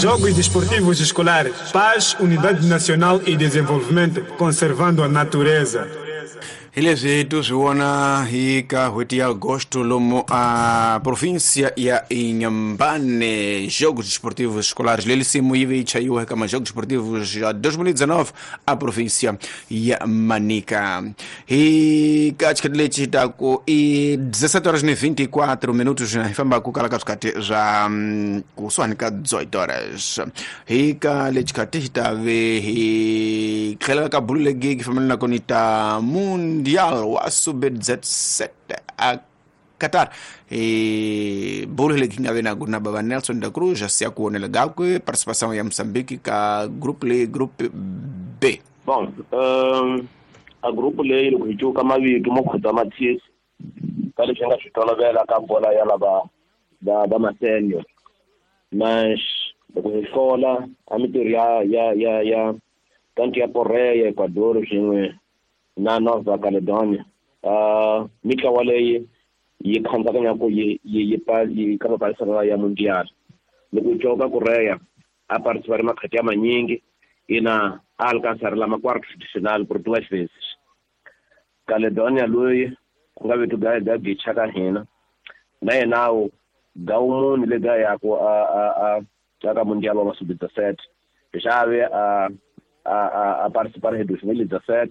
Jogos Desportivos Escolares. Paz, Unidade Nacional e Desenvolvimento, conservando a natureza. Hi leswi tu swi vona hi ka n'hweti ya agosto lomu a província ya Inhambane Jogos Desportivos Escolares leyi nsimu yi ve yi chayiwa eka Majogos Desportivos ya 2019 a província ya Manica. Hi ka xikhathi lexi taku i 17 horas ni 24 minutos hi famba ku kala ka swikhathi swa kusuhani ka 18 horas. Hi ka lexi khathi hi ta ve hi tlhela ka bulu legi fambelanaka ni ta Mundial wa Sub-17 a Qatar. Hi bulu legi nga ve na ku na bava Nelson da Cruz a siya ku vonela gakwe participação ya Moçambique ka group le group B. Bom, a grupo leyi loko hi cuka mavito mo khuda mathisi ka leswi nga swi tolovela ka bola ya lava va ma-senior, mas loko hi hlola a mintirho ya tanto ya Korea, Ecuador swin'we na Nova Caledonia, mitlawa leyi yi khandzakanya ku yi ka mapalisano ya Mundial. Loko hi cuka Korea a participare makhati ya manyingi ina a alcançar la ma quartos de final por duas vezes. Caledonia loyi ku nga vito ga gicha ka hina na yena wu gawumuni le ga ya ku a ka Mundial wa sub-17 xave a participar hi 2017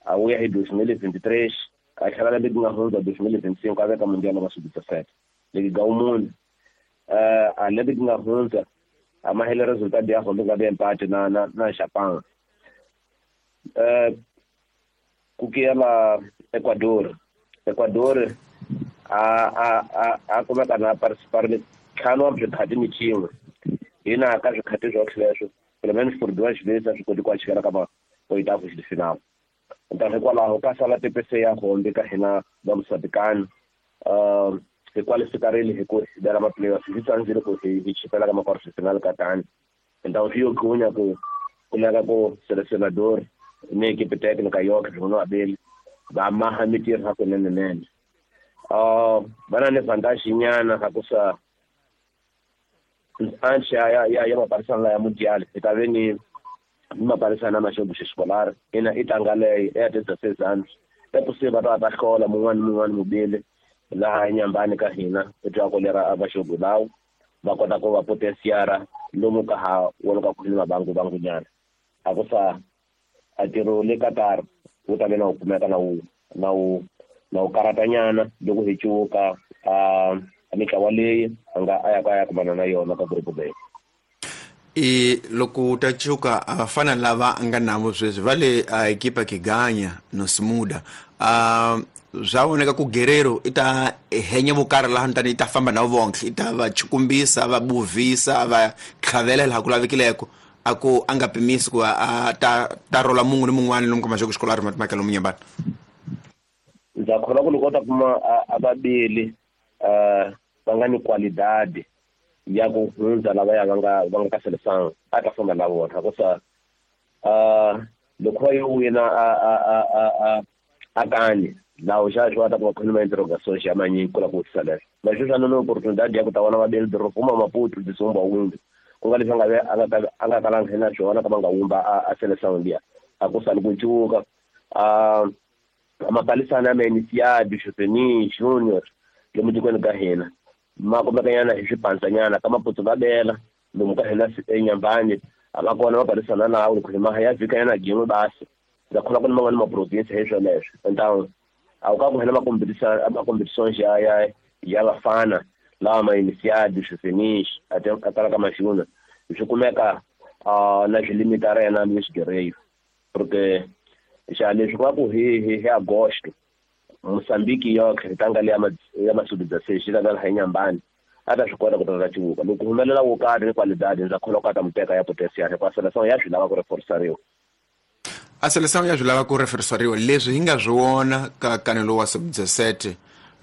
a vuya hi 2023 a tlhela lembe ku nga hundza 2025 a veka Mundial wa sub-17 leki gawumuni a lembe ku nga hundza a mahele resultado ya hombe nga empate na Japan. Ku kiyela Ecuador a kumeka na participar ntlhanu wa swikhathi ni xin'we hina ka swikhathi swo sweswo pelo menos por duas vezes a swi koti ku achikela ka ma-oitavos de final. Então hikwalaho ka sala TPC ya hombe ka hina va Moçambicano hi qualificarile hi ku hi bela ma-playoffs hi tsandzile ku hi chipela ka ma-quarter de final ka tani. Então swi yo ghunya ku kumeka ku selecionador ni equipe técnica yoke swin'we abeli va maha mintirho hakunenenene. Va na ni vantagem nyana ha ku sa antes ya mapalisano ya Mundial hi ta ve ni mapalisano ma xogo xescolar ina i tlanga leyi ya 16 anos é possível va hlola mun'wana mubili laha enyambani ka hina i twa ku lera a va xogo lawo va kota ku va potenciara lomu ka ha wona ka ku ni mabangu bangunyana a ku sa a ntirho le Qatar wu ta ve na wu kumeka na wu karatanyana loko hi cuka a mitlawa leyi a nga a ya ka ya kumana na yona ka group B. I loko ta cuka a fana lava nga navo sweswi va le a ekipa Kiganya no Smuda swa voneka ku Guerrero i ta henya vukarhi laha ntani i ta famba na vonke i ta va chukumbisa va buvisa va tlhavela laha ku lavekileko a ku a nga pimisi ku a ta rola mun'we ni mun'wana lomu ka maxoko xikolo a ri matimaka lomu nyambana. Ndza kholwa ku loko u ta kuma a vabili va nga ni qualidade ya ku hundza lavaya va nga ka seleção a ta famba na vona ku sa loko va yo wina a kani lawo xa swi va ta ku va khuluma interrogações ya manyingi ku la ku vutisa leswo mas sweswi a ni oportunidade ya ku ta vona vabeli doroba Maputo disumba wumbi ku nga leswi a nga kalanga na swona ka va nga wumba a seleção liya a ku sali ku cuka mapalisana ya ma-iniciado juvenil junior lomu tikweni ka hina ma kumekanyana hi swipandzanyana ka Maputo va bela lomu ka hina enyambani a va kona mapalisana lawo loko hi maha ya vhikanyana gin'we basi ndza kholwa ku ni man'wani ma-province hi swoleswo. Então a wu ka ku hina ma-competições ya vafana lawa ma-iniciado juvenis a tala ka ma-junior swi kumeka na swi limita rena Luis Guerreiro porque xa leswi ku va ku hi agosto Moçambique yoke hi tlanga le ya ma-sub-16 yi tlanga laha enyambani a ta swi kota ku ta cuka loko humelela wo karhi ni qualidade ndza kholwa ku a ta mu teka ya potencial hikuva seleção ya swi lava ku reforçariwa. A seleção ya swi lava ku reforçariwa leswi hi nga swi vona ka kanelo wa sub-17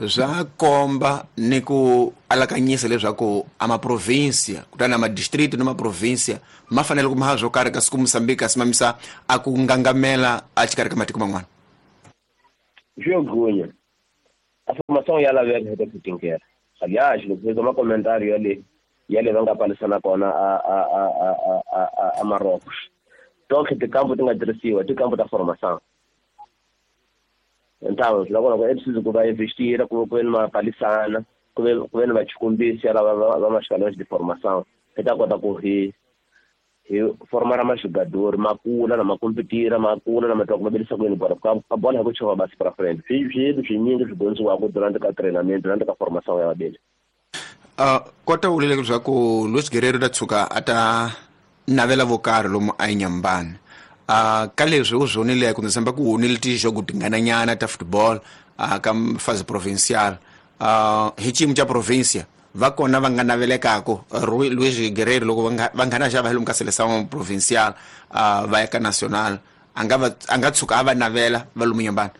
swa komba ni ku alakanyisa leswaku a maprovinsia kutani a madistrito ni maprovinsia ma fanele ku maha swo karhi kasi ku Moçambique a simamisa a ku ngangamela a xikarhi ka matiko man'wana. Swi yo gunya a formação ya laveka hi ta ku tinkela. Aliás, loko hi ma comentário ya le Ya le va nga palisana kona a Marocos. Donc tikampo ti nga tirhisiwa tikampo ta formação. Então loko loko é preciso ku va investira ku ve ni mapalisana ku ve ni vachikumbisi lava va mashikalões de formação hi ta kota ku hi formar majogador ma kula na ma competira ma kula na ma twa ku va belisa ku yini bola ka bola hi ku chova basi pra frente swilo swinyingi swi dyondziwaka durante ka treinamento durante ka formação ya vabeli. Kota u lele leswaku Luis Guerreiro ta tshuka a ta navela vo karhi lomu a Inhambane. Ka leswi u swi vonile ku ndzi tshemba ku wonile tijogo tingananyana ta football ka fase provincial. Hi xiyimo xa provincia va kona va nga navelekaka Luis Guerreiro loko va nghena xava hi lomu ka seleção provincial va ya ka national a nga tshuka a va navela va lomu Inhambane.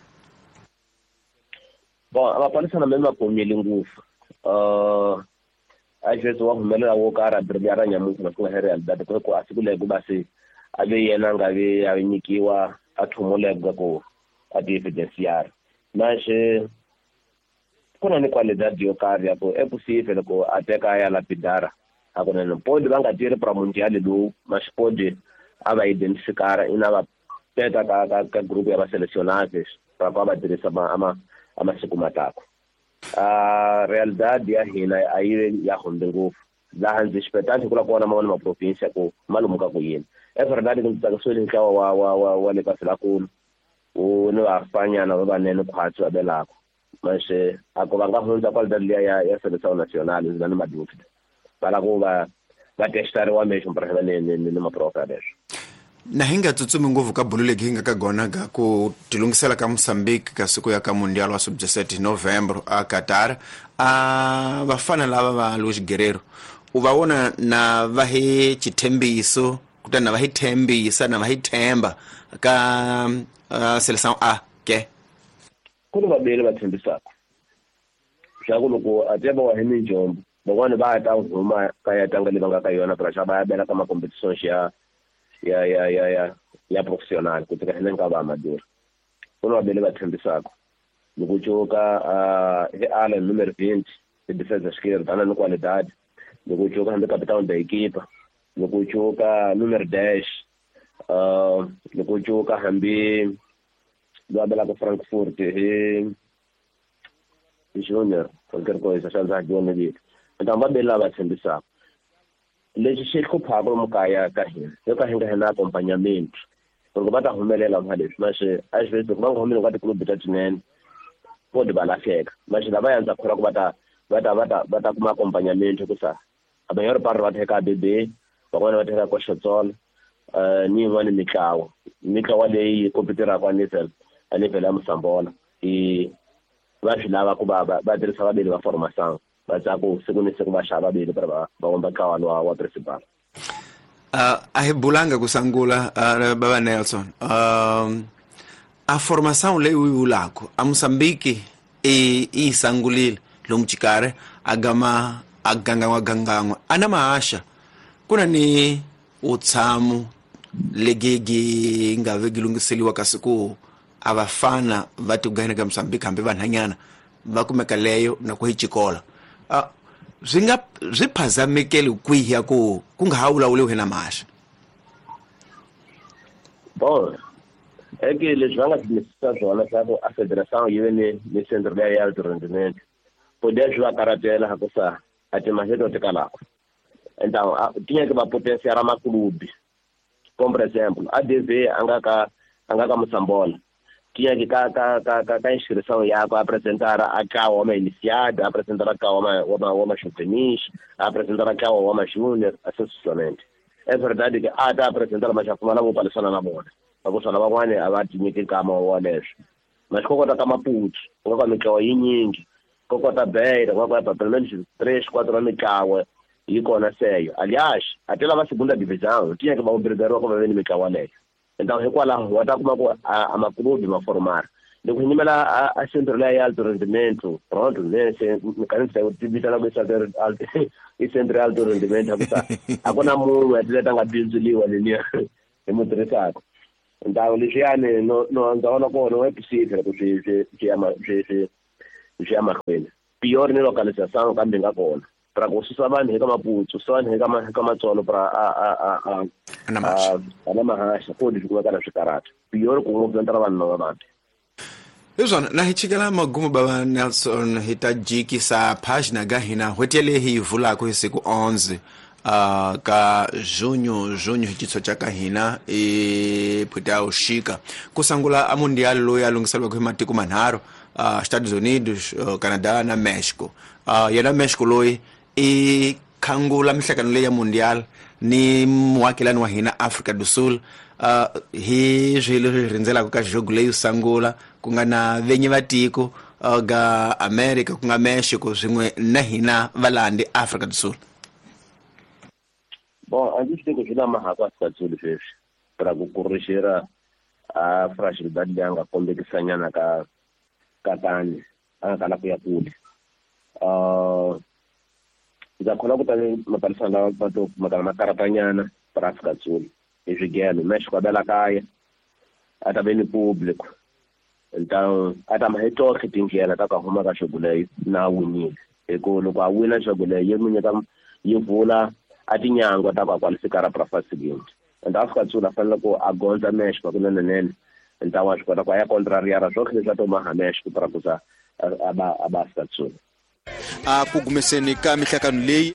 Bon, a mapalisana me ma komile ngopfu. Às vezes wa humelela wo karhi a brilhar nyamuntlha na ku nga realidade ku a siku leyi ku va se a ve yena a nga vi a nyikiwa a thumuleka ku a ti evidenciar. Mas ku na ni qualidade yo karhi ya ku é possível loko a teka a ya lapidara hakunene pode va nga tirhi pra mundial lowu mas pode a va identificar ina va teka ka grupo ya va selecionáveis pra ku va tirhisa a masiku matako. Realidade ya hina a yi ya hundze ngopfu laha ndzi xipetani ku la kona man'wana ma province ku malumu ka ku yini. É verdade ku ndzi tsakisiwile ntlawa wa le ka Silakulu wu ni vafanyana va vanene khwatsi va belaka mas a ku va nga hundza qualidade liya ya seleção nacional ndzi na ni madúvida va lava ku va testariwa mesmo para va ni maprofa leswo. Na hi nga tsutsumi ngopfu ka bulu legi hi nga ka gona ka ku tilungisela ka Mozambique ka siku ya ka Mundial wa sub-17 Novembro a Qatar. A vafana lava va Luis Guerreiro u va vona na va hi xithembiso kutani na va hi thembisa na va hi themba ka seleção A ke ku ni vabeli va tshembisaka swa ku loko a tiva wa hi minjombo van'wani va ta huma ka ya tlanga leyi va nga ka yona pra va ya bela ka ma-competitions ya profissional ku tika hina ka va amador. Ku ni vabeli va tshembisaka loko cuka hi Alan número 20 hi defesa esquerda ana ni qualidade loko cuka hambi capitão da equipa loko cuka número 10 loko cuka hambi loyi a belaka Frankfurt hi Junior qualquer coisa xa ndza dyona vito. Então va beli lava tshembisaka lexi xi hluphaka lomu kaya ka hina yo ka hi nga hina accompagnamento loko va ta humelela mha leswi mas às vezes loko va nga humeleli ka tikulubu ta tinene pode va lahleka mas lava ya ndza kholwa ku va ta kuma accompagnamento ku sa a maior parte va teka BB van'wana va teka Koxotsolo ni yin'wana mitlawa leyi kompetiraka a nível ya Mosambola i va swi lava ku va tirhisa vabeli va formação va tsaka siku ni siku va xava vabeli para va vumba ntlawa wa principal. A hi bulanga ku sangula baba Nelson. A formação leyi u yi vulaka a Mozambique i sangulile lomu xikarhi a gama a gangan'wa a na mahaxa ku na ni utshamo legegi nga ve gi lunghiseliwa kasi ku a vafana va tigana ka Mozambique hambi vanhanyana va kumeka leyo na ku hi xikola. Swi nga swi phazamekeli kwihi ya ku nga ha vulavuriwi na mahaxa? Bon, é que leswi va nga swi swona swa ku a federação yi ve ni centro leya ya alto rendimento poder swi va karhatela ku sa a timali to tikalaka. Então tinha que va potenciar maklubi como por exemplo a DV a nga ka Mosambola tinha que ka inscrição yakwe apresentar a ntlawa wa ma-iniciado apresentar a ntlawa wa ma-juvenis apresentar a ntlawa wa ma-junior assim sucessivamente. É verdade que a ta apresentar mas a pfumala vo palisana na vona vakusana van'wani a va tinyiki nkama wa leswo mas ko kota ka Maputo ku nga ka mitlawa yinyingi ko kota Beira ku nga ka pelo menos 3 4 wa mitlawa yi kona seyo. Aliás até lava segunda divisão tinha que va obrigariwa ku va ve ni mitlawa leyo. Então hikwalaho wa ta kuma ku a maklubi ma formar loko hi nyimela a centro leya ya alto rendimento pronto nese mikanisa ti vitana ku i centro ya alto rendimento hikusa a ku na munhu a tileta nga bindzuliwa leniya hi mu tirhisaka. Então leswiyani no ndza vona kona wa possível ku swi ya mahlweni pior ni localização kambe nga kona Pra ku susa vanhu eka maputsu, susa vanhu eka matsolo pra a a a a Na mahaxa. A na mahaxa ko leswi kumeka na swikarata. Pior ku ngopfu ndlela vanhu lava vabi. Hi swona na hi chikela magumu bava Nelson hi ta jikisa página ga hina n'hweti yaleyi hi yi vulaka hi siku 11 ka junho hi xitshwa xa ka hina i phweti ya uxika ku sangula a mundial loyi a lunghiseriwaka hi matiko manharhu Estados Unidos, Canada na Mexico. Yena Mexico loyi i khangula mihlangano leyi ya mundial ni muakelani wa hina Afrika do Sul. Hi swihi leswi hi rindzelaka ka jogo leyi sangula ku nga na venyi va tiko ga America ku nga Mexico swin'we na hina valandi Afrika do Sul? Bon, a ndzi swi tivi ku swi na mahako Afrika Sul sweswi ra ku kurixera a fragilidade leyi a nga kombekisanyana ka katani a nga kala ku ya kule. Ndza kholwa ku ta mapalisana lawa va to kumekana makaratanyana ra Afrika Sul hi swigelo Mexico a bela kaya a ta ve ni public então a ta ma hi tohle tindlela ta ku a huma ka xogo leyi na a winile hi ku loko a wina xogo leyi yi n'wi nyika yi vula a tinyangwa ta ku a qualifikara pra fa seguinte. And Afrika Sul a fanele ku a gondza Mexico kunenenene então wa swi kota ku a ya contrariara swohle leswi a to maha Mexico pra ku za a ba Afrika Sul. A ku gumeseni ka mihlangano leyi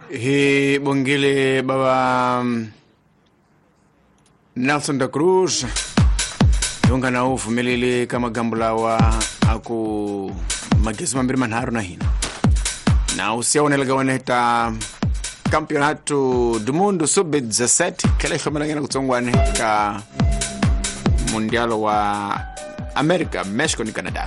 hi bongile bava Nelson da Cruz hi nga na wu pfumeleli ka magambo lawa a ku magezi mambirhi manharhu na hina na u siya wonela ka wena ta Campeonato do Mundo Sub-17 tlhela hi hlomelanyana kutsongwane ka Mundial wa America, Mexico ni Canada.